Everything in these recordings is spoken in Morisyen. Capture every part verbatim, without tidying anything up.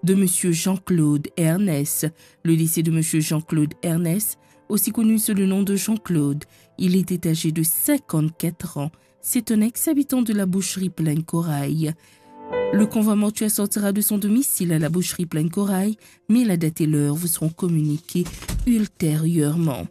de monsieur Jean-Claude Ernest. Le décès de monsieur Jean-Claude Ernest, aussi connu sous le nom de Jean-Claude. Il était âgé de cinquante-quatre ans. C'est un ex-habitant de la Boucherie Plaine Corail. Le convoi mortuaire sortira de son domicile à la Boucherie Plaine Corail, mais la date et l'heure vous seront communiquées ultérieurement.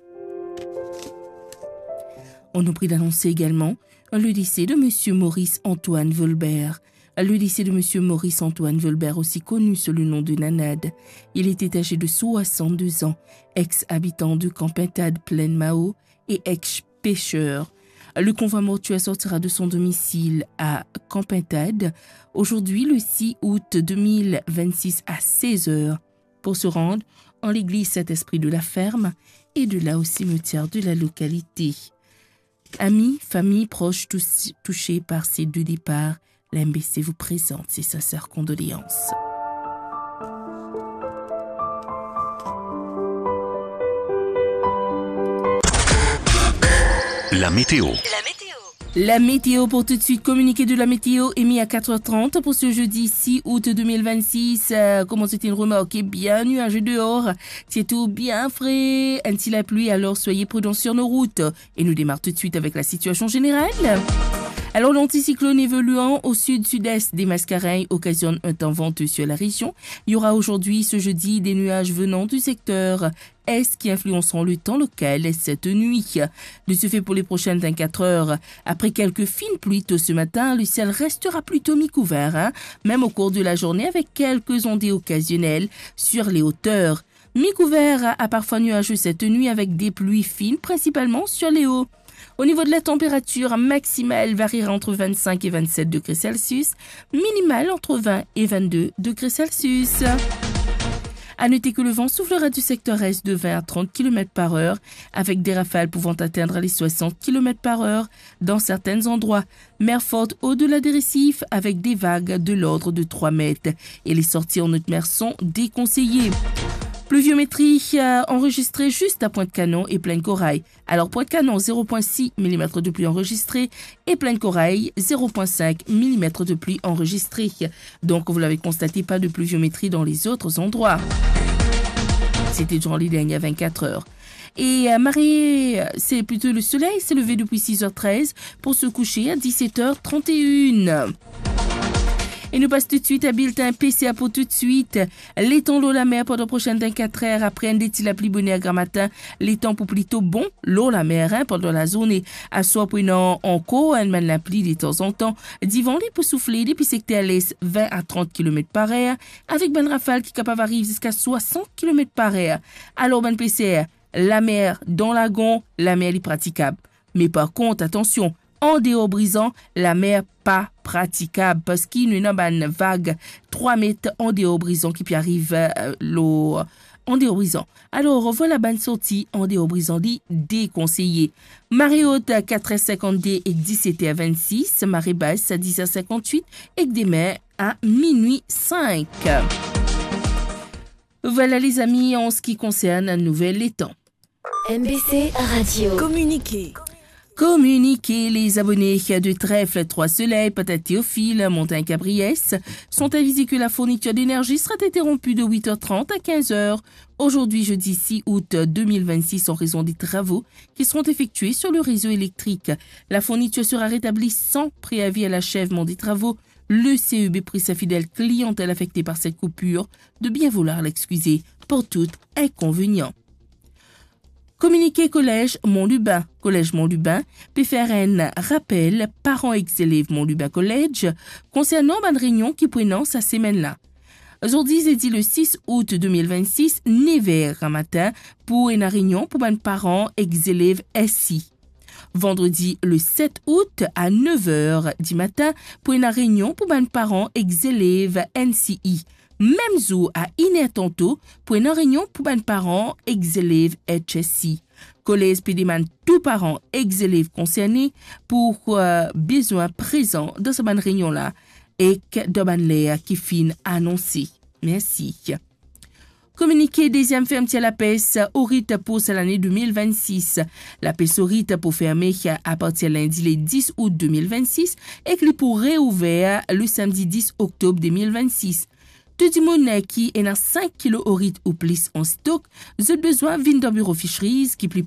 On oublie d'annoncer également le décès de monsieur Maurice Antoine Volbert. Le décès de monsieur Maurice Antoine Volbert, aussi connu sous le nom de Nanad. Il était âgé de soixante-deux ans, ex-habitant de Camp Pintade, Plaine Mao, et ex-pêcheur. Le convoi mortuaire sortira de son domicile à Camp Pintade, aujourd'hui le six août deux mille vingt-six à seize heures, pour se rendre en l'église Saint-Esprit de la Ferme et de là au cimetière de la localité. Amis, famille, proches tous-, touchés par ces deux départs, la M B C vous présente ses sincères condoléances. La météo. La météo pour tout de suite, communiqué de la météo émis à quatre heures trente pour ce jeudi six août deux mille vingt-six. Euh, kouma zot inn remarke, bien nuageux dehors, ti ete bien fre, enn ti lapli, alors soyez prudents sur nos routes. Et nous démarrons tout de suite avec la situation générale. Alors, l'anticyclone évoluant au sud-sud-est des Mascareignes occasionne un temps venteux sur la région. Il y aura aujourd'hui, ce jeudi, des nuages venant du secteur est qui influenceront le temps local cette nuit. De ce fait, pour les prochaines vingt-quatre heures, après quelques fines pluies tôt ce matin, le ciel restera plutôt mi-couvert, hein, même au cours de la journée, avec quelques ondées occasionnelles sur les hauteurs. Mi-couvert à parfois nuageux cette nuit avec des pluies fines, principalement sur les hauts. Au niveau de la température, maximale variera entre vingt-cinq et vingt-sept degrés Celsius, minimale entre vingt et vingt-deux degrés Celsius. À noter que le vent soufflera du secteur est de vingt à trente kilomètres par heure, avec des rafales pouvant atteindre les soixante kilomètres par heure dans certains endroits. Mer forte au-delà des récifs avec des vagues de l'ordre de trois mètres et les sorties en haute mer sont déconseillées. Pluviométrie, euh, enregistrée juste à Pointe-Canon et Plaine Corail. Alors, Pointe-Canon, zéro point six millimètres de pluie enregistrée et Plaine Corail, zéro point cinq millimètres de pluie enregistrée. Donc, vous l'avez constaté, pas de pluviométrie dans les autres endroits. C'était durant les dernières vingt-quatre heures. Et, euh, marée, euh, c'est plutôt le soleil s'est levé depuis six heures treize pour se coucher à dix-sept heures trente et une. E nou pas toudsuit a biltin P C A pou toudsuit. Letan lor lamer pandan prosenn vinnkatr er, apre enn de ti lapli boner gramatin, letan pou plito bon lor lamer, hein, pandan lazourne. Aswar pou ena ankor enn bann lapli detanzantan. Divan li pou soufle depi sekter les, vin a trant kilomet par er, avek bann rafal ki kapav ariv ziska swasant kilomet par er. Alor, bann peser, lamer dan lagon, lamer li pratikab. Me par kont, atansion, andeor Brizan, lamer pa pratikab, parski nou ena bann vag trwa met andeor Brizan ki pe ariv, eh, lor, andeor Brizan. Alor, vwala bann sorti andeor Brizan li dekonseye. Mare ot, katr er sinkant de ek diset er vennsis, mare bas, dis er sinkant wit ek demin a minwi sink. Vwala, lezami, an se ki konsern nouvel letan. M B C Radio. Communiqué. Communiqué, les abonnés de Trèfle, Trois Soleils, Patate Théophile, Montagne Cabriès sont avisés que la fourniture d'énergie sera interrompue de huit heures trente à quinze heures aujourd'hui, jeudi six août deux mille vingt-six, en raison des travaux qui seront effectués sur le réseau électrique. La fourniture sera rétablie sans préavis à l'achèvement des travaux. Le C E B prie sa fidèle clientèle affectée par cette coupure de bien vouloir l'excuser pour tout inconvénient. Kominike Kolez Mont Lubin. Kolez Mont Lubin pe fer enn rapel paran ek zelev Mont Lubin College konsernan bann reynion ki pou ena sa semenn la. Zordi, zedi le sis out de mil vennsis, nev er gramatin, pou ena reynion pou bann paran ek zelev S I. Vandredi le set out a nev er dimatin, pou ena reynion pou bann paran ek zelev N C I. Mem zour a inn er tanto, pou ena reynion pou bann paran ek zelev H S I. Kolez pe demann tou paran ek zelev konserne pou, eh, bizin prezan dan sa bann reynion la ek dan bann ler ki finn anonse. Mersi. Kominike deziem fermtir lapes o rit pou sa lane de mil vennsis. Lapes o rit pou ferme apartir lindi le dis out de mil vennsis ek li pou reouver le samdi dis oktob de mil vennsis. Tou dimoun ki ena sink kilo orit ou plis an stok, zot bizin vinn dan biro Fisheries ki pli